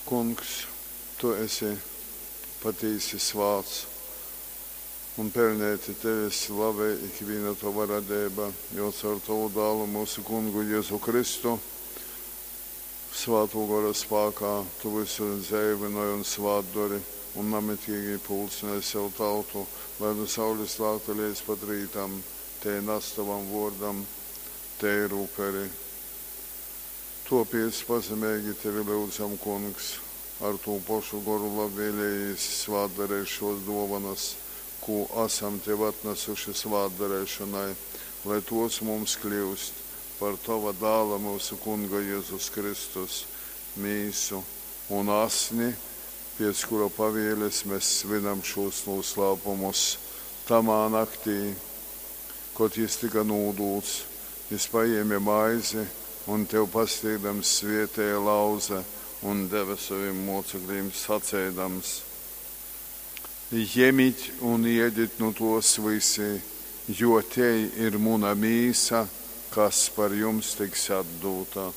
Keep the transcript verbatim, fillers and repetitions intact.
Kungs, tu esi patīsi svāts, un peļneiti tevi slavej ikvīna tova radeiba, jo caur tovu Dālu, myusu Kungu Jezu Kristu, Svātō Gora spākā tu vysu dzeivynoj un svātdori un namitīgi pulcynoj sev tautu, lai nu saules lākta leidz pat rītam tei nas tovam vōrdam teiru uperi. Tōpēc pazemeigi tevi lyudzam, Kungs, ar tū pošu goru labvēlejīs svātdareit šōs dōvonas, kū asam tev atnasuši svātdareišonai, lai tōs mums kļyust par tova Dāla, myusu Kunga Jezus Kristus, mīsu un asni, pēc kura pavēles mes svinam šūs nūslāpumus. Tamā naktī, kod jys tyka nūdūts, jys pajēme maizi un, tev pasnīgdams, svētēja, lauze un deve sovim mōceklīm, saceidams, Jemit un ēdit nu tōs vysi, jo tei ir muna mīsa, kas par jums tiks atdūta.